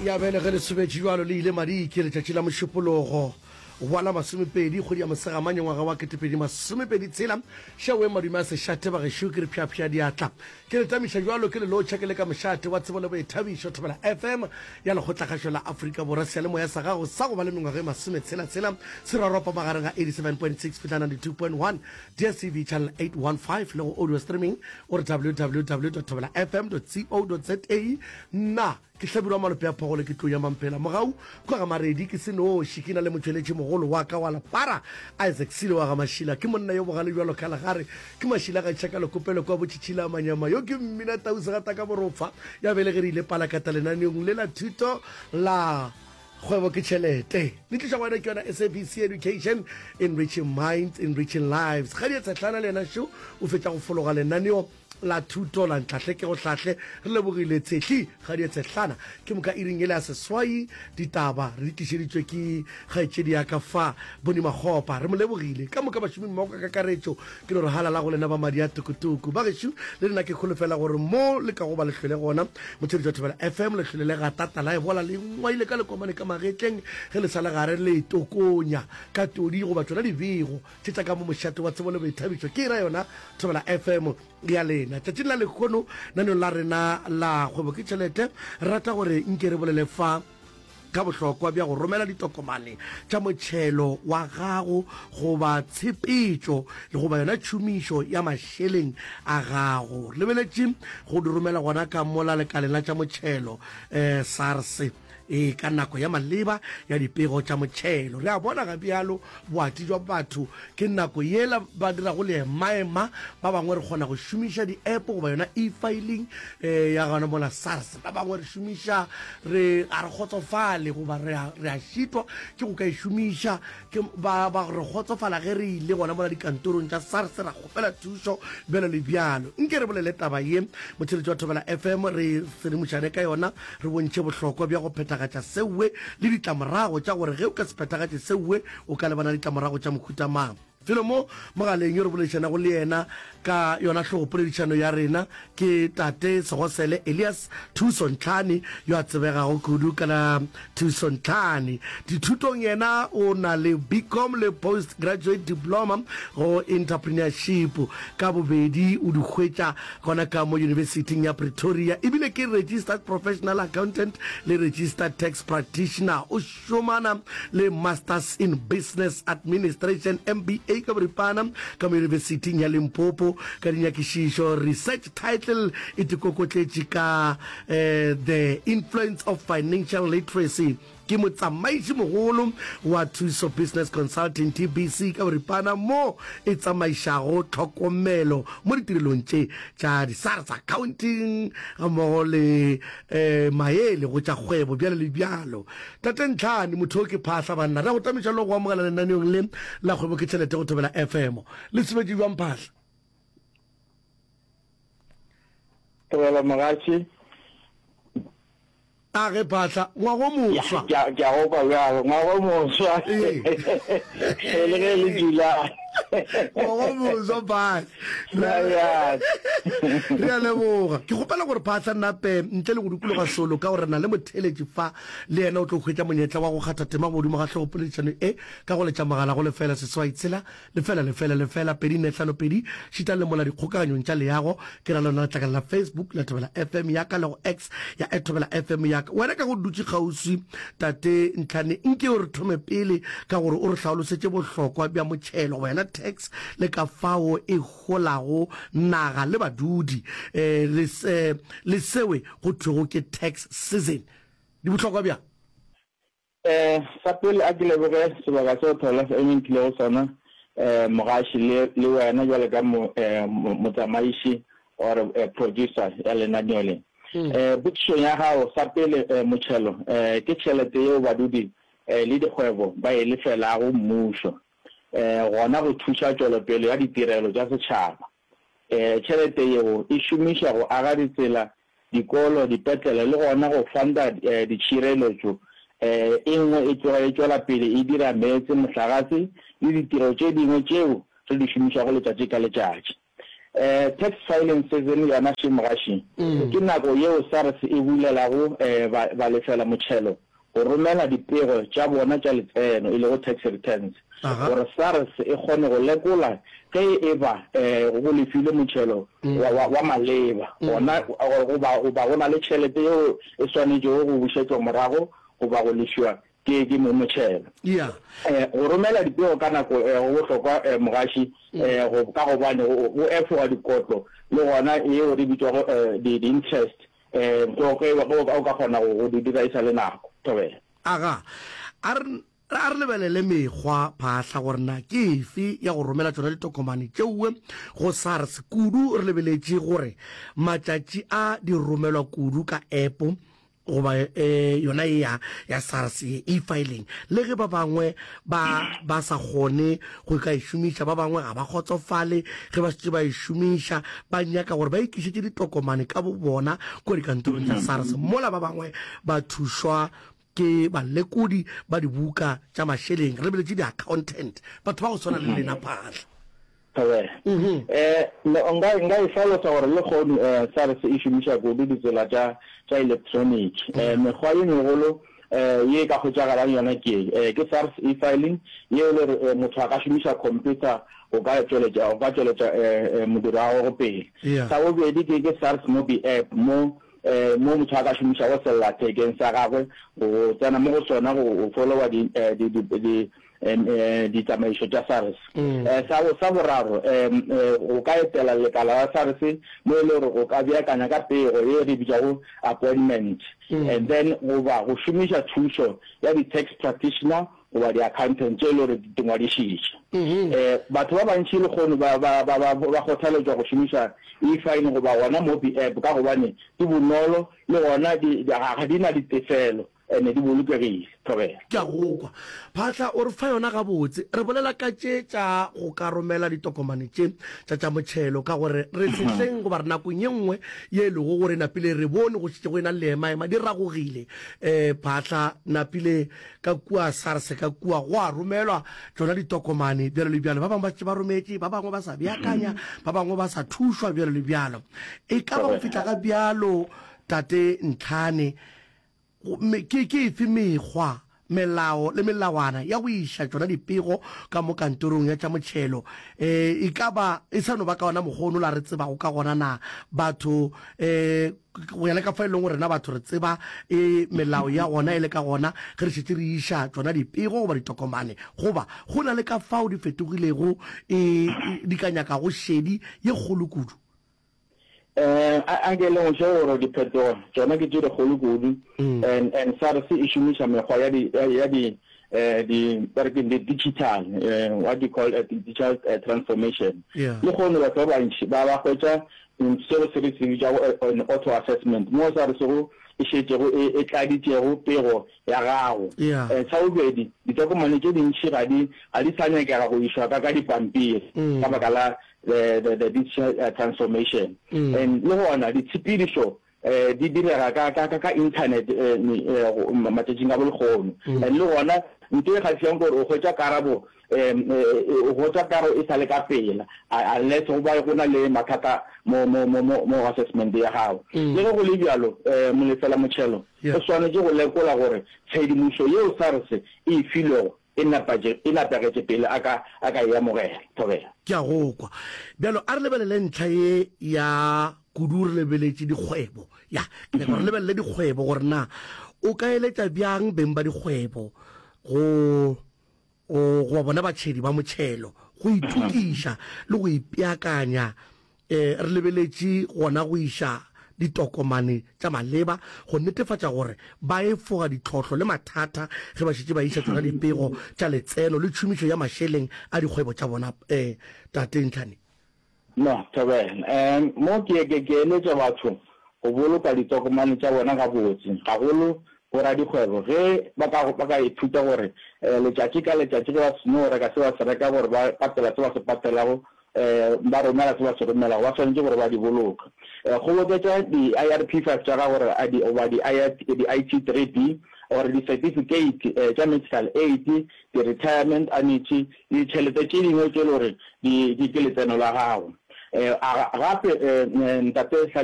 Ya bjale ge le sobetše bjalo le ile madike letšatši la Mošupologo wa la masomepedi kgwedi ya Mosegamanye ngwaga wa 2026 šeoeng madume a sešate bagešo ke re pšhapšha diatla ke le tamiša bjalo ke le lotšha ke le ka mošate wa tsebo le boithabišo Thobela FM ya Lekgotlakgašo la Afrika Borwa seyalemoya sa gago sa go ba le mengwaga e masometshela-tshela se roropa magareng ga 87.6 fihla 92.1 DSTV channel 815 le go audio streaming o re www.thobelafm.co.za Nna ke Hlabirwa Malope a Phogole ke tlou ya Mamphela Mogau kwa ga Maredi ke se noši ke na le motšweletši mogolo wa ka wa lepara Isaac Sile wa ga Mašila ke monna yo bogale bjalo ka legare ke Mašila ga tšhaka lekopelo kwa botšhitšhila manyama yo ke mmina tau segata ka borofa ya bele ge re ile palakata lenaneong le la thuto la Kgwebo ke tšhelete. Le tliša go wena ke yona SABC Education, enriching minds, enriching lives. Kgadi ya Tshehlana le yena šo o fetša go fologa lenaneo la thuto la Ntlhahle ke go hlahle. Re lebogile Tshehli Kgadi ya Tshehlana. Ke moka iring ele ya seswai ditaba re di tlišeditšwe ke kgaetšedi ya ka fa Boni Makgopa. Re mo lebogile. Ka moka bašomi mmogo ka kakaretšo Ke no re halala go lena ba madi a tukutuku. Bagešo, le nna ke holofela gore mo le kago ba le hlwele gona, motheeletši wa Thobela FM, le hlwele le gata tala e bola le ngwaile ka lekomane ka magetleng ge le sa le gare le tokonya ka todi goba tšona dibego tše tša ka mo mošate wa tsebo le boithabišo. Ke ra yona Thobela FM ya lena. Tšatšing la lehono naneong la rena la Kgwebo ke Tšhelete, re rata gore nke re bolele fa ka bohlokwa bja go romela ditokomane tša motšhelo wa gago goba tshepetšo le goba yona tšhomišo ya mašeleng a gago. Re lebeletše go di romela gona ka mola lekaleng la tša motšhelo, eh, SARS, e ka nako ya maleba ya dipego tša motšhelo. Re a bona ga bjalo boati jwa batho ke nako yela ba dirago leemaema, ba bangwe re kgona go šomiša di-app goba yona e-filing eh, ya gona mola SARS, ba bangwe re šomiša re ga re kgotsofale goba re a, re a šitwa ke go ka e šomiša ke ba, ba re kgotsofala ge re ile gona mola dikantorong tša SARS ra kgopela thušo bjalo le bjalo. Nke re bolele taba ye motheletši wa Thobela FM re sedimošane ka yona re bontšhe bohlokwa bja go phethagatša seowe le ditlamorago tša gore ge o ka se phethagatše seowe o ka lebana le ditlamorago tša mohuta mang. Felo mo mogaleng yo re boledišanago le yena ka yona hlogopoledišano ya rena ke Tate Segosele Elias Thuso Ntlhane yo a tsebegago kudu ka la Thuso Ntlhane. Dithutong yena o na le BCom le Post Graduate Diploma go Entrepreneurship ka bobedi o di hwetša gona ka mo Yunibesithing ya Pretoria ebile ke Registered Professional Accountant le Registered Tax Practitioner. O šomana le Masters in Business Administration, MBA ka boripana, ka mo Yunibesithing ya Limpopo ka dinyakišišo. Research title e tikokotletše ka The Influence of Financial Literacy. Ke motsamaiši-mogolo wa Thuso Business Consulting, TBC, ka boripana, mo e tsamaišago tlhokomelo mo ditirelong tše tša di-SARS accounting gammogo le maele go tša kgwebo bjalo le bjalo. Tate Ntlhane, motho o ke phahla banna. Re a go tamiša le go amogela lenaneong le la Kgwebo ke Tšhelete go Thobela FM. Le sebetše bjang Phahla? Thobela Mogatši. A ge Phahla, ngwaga o moswa. Ke a, ke a go kwa bjalo, ngwaga o moswa. Ee. Le ge e le July. Ngwaga o moswa Phahla. Na Re a leboga. Ke kgopela gore Phahla nape ntle le go dikologa solo ka gore re na le motheeletši fa le yena o tlo hwetša monyetla wa go kgatha tema godimo ga hlogopoledišano e ka go letša mogala go lefela seswai tshela Lefela, lefela, lefela, 2, 4, 5, 2, šitang le mola dikgokaganyong tša leago, ke ra lona letlakala la Facebook la Thobela FM ya ka le go X ya at Thobela FM ya ka. Wena ka go dutše kgauswi, Tate Ntlhane, nke o re thome pele ka gore o re hlaolosetše bohlokwa bja motšhelo goba yona tax le ka fao e holago naga le badudi eh, le, eh, le sewe go thwego ke tax season. Di bohlokwa bjang? Sa pele a ke leboge sebaka seo Thobela FM e mphilego sona, mogaši le le wena bjalo ka motsamaiši or producer ya lenaneo le. Potšišong ya gago, sa pele motšhelo ke tšhelete yeo badudi le dikgwebo ba e lefelago mmušo gona go thuša tšwelopele ya ditirelo tša setšhaba. Tšhelete yeo e šomišwa go aga ditsela, dikolo, dipetlele le gona go fanda ditšhireletšo. E nngwe e tloga e tšwela pele e dira meetse, mohlagase le ditiro tše dingwe tšeo re di šomišago letšatši ka letšatši. Tax filing season yona še mogaši, ke nako yeo SARS e bulelago balefela motšhelo go romela dipego tša bona tša letseno, e lego tax returns, gore SARS e kgone go lekola ge e ba go lefilwe motšhelo wa maleba gona goba goba go na le tšhelete yeo e swanetšego go bušetšwa morago goba go lefiwa ke ke mong motšhelo. Yeah. Go romela dipego ka nako go bohlokwa mogaši go ka gobane go efoga dikotlo le gona yeo re bitšwago di di-interest go ge o ka kgona go di dira e sa le nako. Thobela. Aga, a re a re lebelele mekgwa phahla gore na ke efe ya go romela tšona ditokomane tšeoe go SARS kudu re lebeletše gore matšatši a di romelwa kudu ka app goba e, yona e ya ya SARS ye e-filing le ge ba bangwe ba ba sa kgone go ka e šomiša ba bangwe ga ba kgotsofale ge ba šetše ba e šomiša ba nyaka gore ba ikišetše ditokomane ka bo bona kua dikantorong tša SARS mola ba bangwe ba thušwa ke balekodi ba dibuka tša mašeleng re lebeletše di-accountant batho ba go swana le lena Phaahla. Thobela. Eh, nka, nka e hlalosa gore lehono eh, SARS e šomiša kudu ditsela tša, tša elektroniki. Eh, mekgwa ye megolo eh, ye e ka hwetšagalang yona ke ye, eh, ke SARS e-filing, yeo e le gore eh, motho a ka šomiša computer go ka tšweletša, go ka tšweletša eh, eh, modiro wa gagwe pele. Yeah. Sa bobedi ke, ke SARS Mobi App, mo eh, mo motho a ka šomišago sellathekeng sa gagwe go tsena mo go sona go, go followa di, eh, di, di, di, ditsamaišo tša SARS. Sa, sa boraro, o ka etela lekala la SARS mo e le gore o ka beakanya ka pego ye re bitšago appointment, and then goba go šomiša thušo ya di-tax practitioner goba di-accountant tše e le gore di ngwadišitše. Batho ba bantši lehono ba, ba, ba, ba, ba kgothaletšwa go šomiša e-filing goba gona Mobi app ka gobane di bonolo le gona di, ga di na ditefelo. Ene di bolokegile. Thobela. Ke a go kwa. Phatla, o re fa yona gabotse. Re bolela ka tše tša go ka romela ditokomane tše tša tša motšhelo, ka gore re sehleng goba re nakong ye nngwe ye e lego gore napile re bone go šetše go ena le leemaema, di ragogile. Um Phatla, napile ka kua SARS ka kua go a romelwa tšona ditokomane bjalo le bjalo. Ba bangwe ba šetše ba rometše, ba bangwe ba sa beakanya, ba bangwe ba sa thušwa bjalo le bjalo. E ka ba go fihla ga bjalo, Tate Ntlhane, Gomme ke, ke efe mekgwa, melao le melawana ya go iša tšona dipego ka mo kantorong ya tša motšhelo? E, e ka ba e sa no ba ka ona mokgwa ono la re tsebago ka gona na? Batho, e, go ya le ka fa e leng gore rena batho re tseba e melao ya gona e le ka gona ge re šetše re iša tšona dipego goba ditokomane, goba go na le ka fao di fetogilego e, di ka nyakago šedi ye kgolo kudu? Um a nke le ngweše gore diphetogo tšona ke tše dikgolo kudu and and SARS e šomiša mekgwa ya di ya di eh di ba re ke di digital eh what do you call it digital transformation. Lehono batho ba bantši ba ba hwetša seo se re se bitšago an auto assessment mo SARS go e šetšego e e tladitšego pego ya gago. Sa bobedi, ditokomane tše dintši ga di ga di sa nyakega go išwa ka ka dipampiri ka baka la the, the, the digital uh, transformation mm. and le gona ditshepedišo eh di direga ka ka ka internet eh, eh matšatšing a bolekgono mm. and le gona nto e kgahliyang gore o hwetša karabo um o hwetša karo e sa le ka pela unless go ba go na le mathata mo mo mo mo mo assessment ya gago mm. le ge go le bjalo um molefela motšhelo o swanetše go lekola gore tshedimošo yeo SARS e e filwego e napatše, e napegetše pele a ka, a ka e amogela. Thobela. Ke a go kwa. Bjalo a re lebelele ntlha ye ya kudu re lebeletše dikgwebo. Ya, ke nyaka gore re lebelele dikgwebo gore na o ka eletša bjang beng ba dikgwebo go, go, goba bona batšhedi ba motšhelo go itokiša le go ipeakanya E, re lebeletše gona go iša ditokomane tša maleba go netefatša gore ba efoga ditlhohlo le mathata ge ba šetše ba iša tšona dipego tša letseno le tšhomišo ya mašeleng a dikgwebo tša bona. E, Tate Ntlhane. No, thobela. Um, mo ke, ke, ke eletša batho go boloka ditokomane tša bona gabotse, gagolo boradikgwebo ge ba ka, ba ka ithuta gore letšatši ka letšatši ge ba seno reka se ba se reka gore ba patela se ba se patelago ba romela se ba se romelago, ba swanetše gore ba di boloke. Kgoboketša di-IRP5 tša gago gore a di, goba di-IT3B, or di-certificate tša medical aid, di-retirement annuity le ditšhelete tše dingwe tše e le gore di, di ke letseno la gago. A gape, Ntate Hlabirwa.